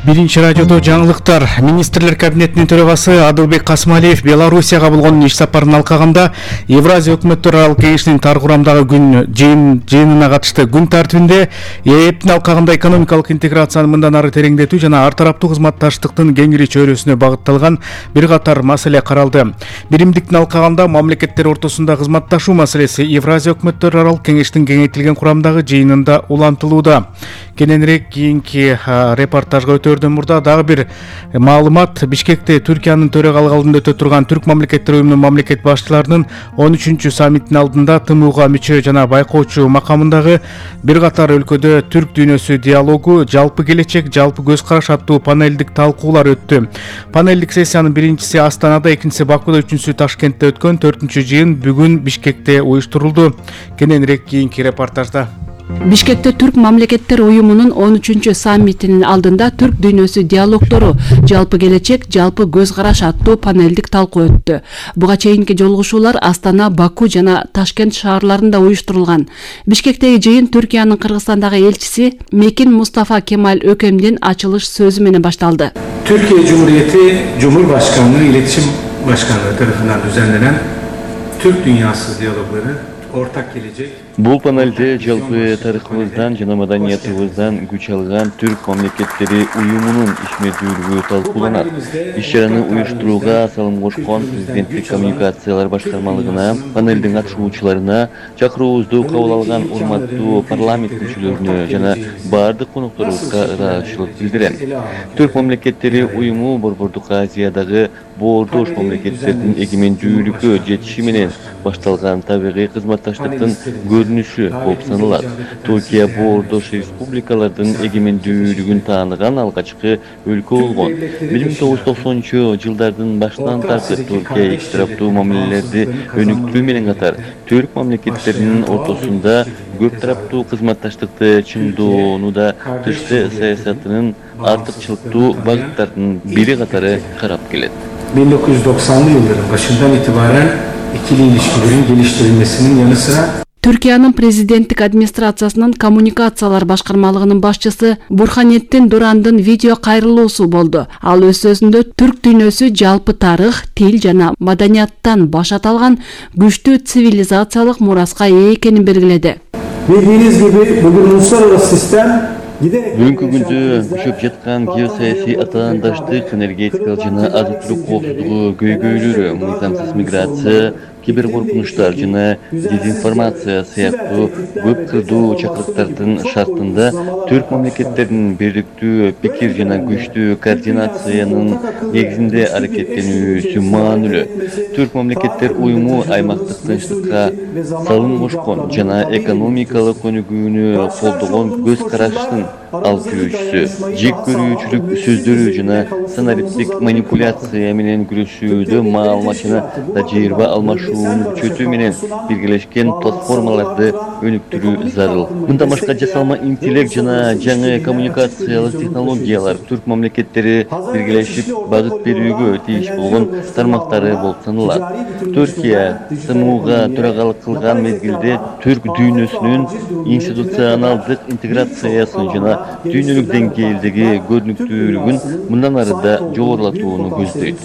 Биринчи радиодо жаңылыктар. Министрлер кабинетинин төрагасы Адылбек Касымалиев Белоруссияга болгон иш сапарын алкаганда Евразия өкмөттөр аралык кеңешинин тар курамдагы жыйынына катышты. Күн тартибинде ЕЭПтин алкагында экономикалык интеграцияны мындан ары тереңдетүү жана ар тараптуу кызматташтыктын кеңири чөйрөсүнө багытталган бир катар маселе каралды. Биримдиктин алкагында мамлекеттер ортосунда кызматташуу маселеси Евразия өкмөттөр аралык кеңештин кеңейтилген курамдагы жыйынында улантылууда. Кененирээк кийинки репортажга өтөрдөн мурда дагы бир маалымат. Бишкекте Түркиянын төрагалык алдында өтө турган Түрк мамлекеттер уюмунун мамлекет башчыларынын 13-чү саммитинин алдында ТМУга мүчө жана байкоочу макамындагы бир катар өлкөдө түрк дүйнөсү диалогу, жалпы келечек, жалпы көз караш аттуу панелдик талкуулар өттү. Панелдик сессиянын биринчиси Астанада, экинчиси Бакуда, үчүнчүсү Ташкентте өткөн. 4-чү жыйын бүгүн Бишкекте уюштурулду. Кененирээк кийинки репортажда. Бишкекте Түрк мамлекеттер уюмунун 13-чү саммитинин алдында түрк дүйнөсү диалогдору, жалпы келечек, жалпы көз караш аттуу панелдик талкуу өттү. Буга чейинки жолугушуулар Астана, Баку жана Ташкент шаарларында уюштурулган. Бишкектеги жыйын Түркиянын Кыргызстандагы элчиси Мекин Мустафа Кемаль Өкемдин ачылыш сөзү менен башталды. Türkiye Cumhuriyeti Cumhurbaşkanlığı İletişim Başkanlığı tarafından düzenlenen Türk Dünyası Diyalogları ortak gelecek. Бул панелде жалпы тарыхыбыздан жана маданиятыбыздан күч алган түрк мамлекеттери уюмунун ишмердүүлүгү талкууланат. Иш-чараны уюштурууга салым кошкон президенттик коммуникациялар башкармалыгына, панелдин катышуучуларына, чакыруубузду кабыл алган урматтуу парламент мүчөлөрүнө жана баардык конокторубузга ыраазычылык билдирем. Түрк мамлекеттери уюму Борбордук Азиядагы боордош мамлекеттердин эгемендүүлүккө жетиши менен башталган табигый кызматташтыктын көрүнүшү болуп саналат. Түркия боордош республикалардын эгемендүүлүгүн тааныган алгачкы өлкө болгон. 1990-жылдардын башынан тартып Түркия эки тараптуу мамилелерди өнүктүрүү менен катар түрк мамлекеттеринин ортосунда көп тараптуу кызматташтыкты чыңдоонуда тышкы саясатынын артыкчылыктуу багыттардын бири катары карап келет. 1990'lı yılların başından itibaren ikili ilişkilerin geliştirilmesinin yanı sıra Түркиянын президенттик администрациясынын коммуникациялар башкармалыгынын башчысы Бурханеттин Дурандын видео кайрылуусу болду. Ал өз сөзүндө түрк дүйнөсү жалпы тарых, тил жана маданияттан баш аталган күчтүү цивилизациялык мураска ээ экенин белгиледи. Bildiğiniz gibi bugün uluslararası sistem Бүгүнкү күндө күчөп жаткан геосаясий атаандаштык, энергетикалык жана азык-түлүк коопсуздугу көйгөйлөрү, мыйзамсыз миграция, киберкоркунучтар жана дезинформация сыяктуу көп кырдуу чакырыктардын шартында түрк мамлекеттеринин бирликтүү пикир жана күчтүү координациянын негизинде аракеттенүүсү маанилүү. Түрк мамлекеттер уюму аймактык тынчтыкка салым кошкон жана экономикалык өнүгүүнү колдогон көз караштын алып жүрүүчүсү. Жек көрүүчүлүк сөздөрү жана сценаристтик манипуляция менен күрөшүүдө маалымат жана тажрыйба алмашууну күчөтүү менен биргелешкен платформаларды өнүктүрүү зарыл. Мындан башка жасалма интеллект жана жаңы коммуникациялык технологиялар түрк мамлекеттери биргелешип багыт берүүгө тийиш болгон тармактары болуп саналат. Түркия ТМУга төрагалык кылган мезгилде түрк дүйнөсүнүн институционалдык интеграциясын жана дүйнөлүк деңгээлдеги көрүнүктүүлүгүн мындан ары да жогорулатууну көздөйт.